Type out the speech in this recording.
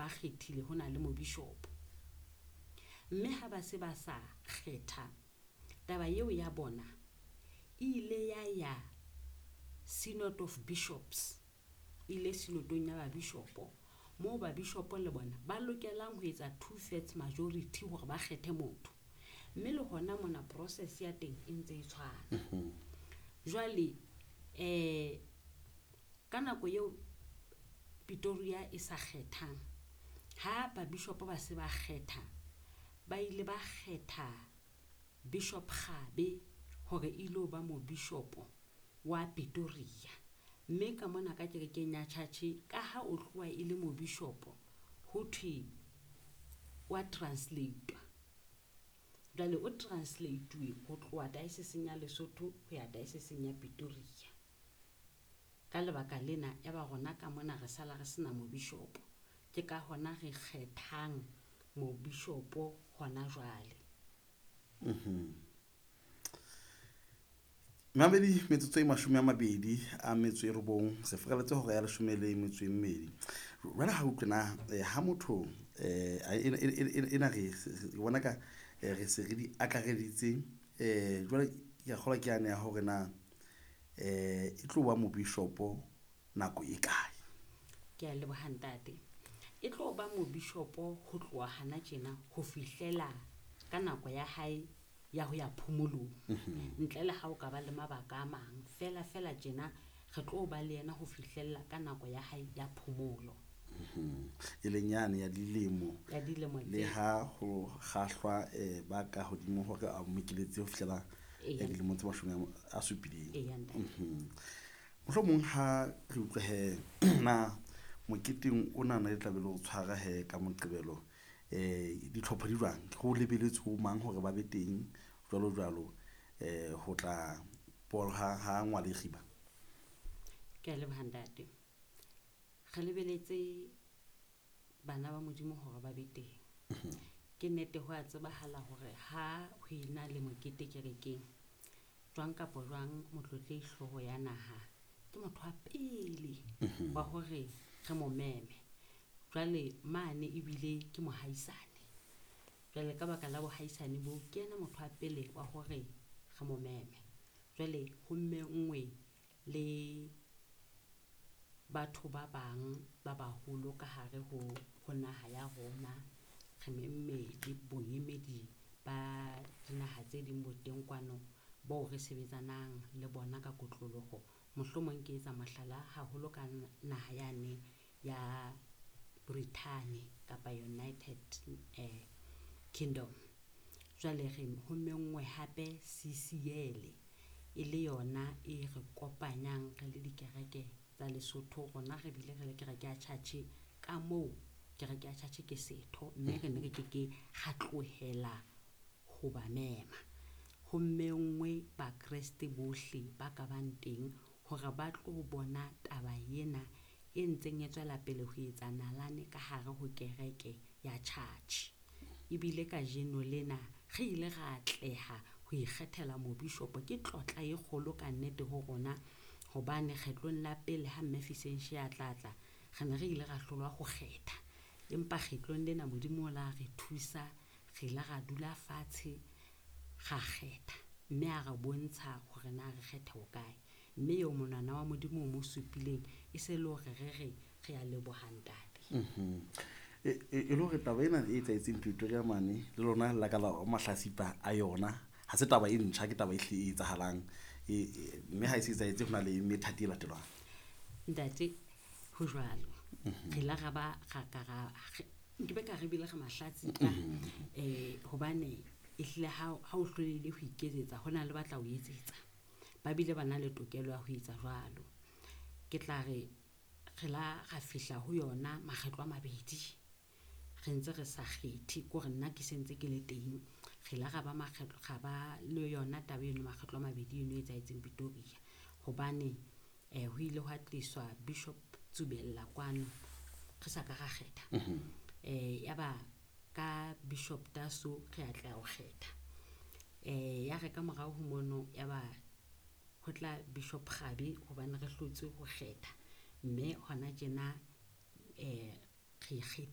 Ba kgethile ho na le mobishopo. Mme ha ba se ba sa kgetha, taba eo ya bona e ile ya ya Synod of Bishops, e ile synodong ya babishopo, moo babishopo le bona ba lokelang ho etsa two-thirds majority hore ba kgethe motho. Mme le hona mona process ya teng e ntse e tshwana. Jwale ka nako eo Pretoria e sa kgethang, ha babishopo ba se ba kgetha, ba ile ba kgetha Bishop Kgabe hore e ilo ba mobishopo wa Pretoria. Mme ka mona ka kerekeng ya church, ka ha o tloha e le mobishopo, ho thwe wa translate. Jwale o translate ho tloha diocese ya Lesotho ho ya diocese ya Pretoria. Ka lebaka lena ya ba rona ka mona re sala re sena mobishopo. Ke ka hona re kgethang mobishopo hona jwale. Mamedi, metsotso e 29 re fereletse hora ya 12. Jwale ha utlwe na ha motho ena re bona ka re se re di akareditse, jwale ke a kgolwa ke yane ya hore na e tlo ba mobishopo nako e kae? Ke a leboha ntate. E tlo ba mobishopo ho tloha hana tjena ho fihlela ka nako ya hae ya ho ya phomolong. Ntle le ha o ka ba le mabaka a mang, fela fela tjena re tlo ba le yena ho fihlella ka nako ya hae ya phomolo. E leng yane ya dilemo, Ya dilemo le tse ha ho kgahlwa ba ka hodimo hore a mokeletse ho fihlela dilemo tse 70. Eya, ntate. Mohlomong ha re utlwe he na moketeng ona na le tlabe le o tshwara he ka Moqebelo, ditlhopho di jwang? Ho lebeletswe ho mang hore ba be teng jwalo jwalo, ho tla ha ha ngwale kgiba? Ke a leboha ntate. Re lebeletse bana ba Modimo hore ba be teng. Ke nnete ho a tsebahala hore ha ho ena le mokete kerekeng, jwang kapa jwang motlotlehi hlooho ya naha ke motho wa pele wa hore re mo meme. Jwale mane ebile ke mohaisane. Jwale ka baka la bohaisane bo, ke yena motho wa pele wa hore re mo meme. Jwale ho menngwe le batho ba bang ba baholo ka hare ho naha ya rona. Re memme le boemedi ba dinaha tse ding bo teng kwano bao re sebetsanang le bona ka kotloloho. Mohlomong ke etsa mohlala haholo ka naha yane ya Britain kapa United Kingdom. Jwale re ho menngwe hape CCL e le yona e re kopanyang re le dikereke tsa Lesotho. Rona re bile re le kereke ya church, ka moo kereke ya church ke setho, mme re ne re ke ke ra tlohela ho ba mema. Ho menngwe Bakreste bohle ba ka bang teng hore ba tlo bona taba ena e ntseng e tswela pele ho etsa nalane ka hare ho kereke ya church. Ebile kajeno lena re ile ra atleha ho ikgethela mobishopo. Ke tlotla e kgolo ka nnete ho rona, hobane kgetlong la pele ha Mme Fisenshi a tla tla, re ne re ile ra hlolwa ho kgetha. Empa kgetlong lena Modimo o la re thusa, re ile ra dula fatshe ra kgetha, mme a re bontsha hore na re kgethe ho kae. Mme eo monwana wa Modimo o mo supileng e se le hore re re re a leboha ntate. E le hore taba ena e etsahetseng Pretoria mane le lona la ka la mahlasipa a yona, ha se taba e ntjha, ke taba e hlile e etsahalang. Mme ha e se etsahetse ho na le methati e latelwang. Ntate, ho jwalo. Re la ra ba ra ka ra nke be ka re bile re mahlatsipa, hobane ehlile ha o hlolehile ho iketsetsa, ho na le batla o etsetsa. Ba bile ba na le tokelo ya ho etsa jwalo. Ke tla re re la ra fihla ho yona makgetlo a mabedi. Re ntse re sa kgethe, ke hore nna ke sentse ke le teng. Re la ra ba makgetlo, ra ba le yona taba eno makgetlo a mabedi eno e etsahetseng Pretoria. Hobane ho ile hwa tliswa Bishop Tsubella kwano, re sa ka ra kgetha. Ya ba ka Bishop Taso re atleha ho kgetha. Ya re ka morao ho mono ya ba ho tla Bishop Kgabe hobane re hlotse ho kgetha. Mme hona tjena re ikgethile.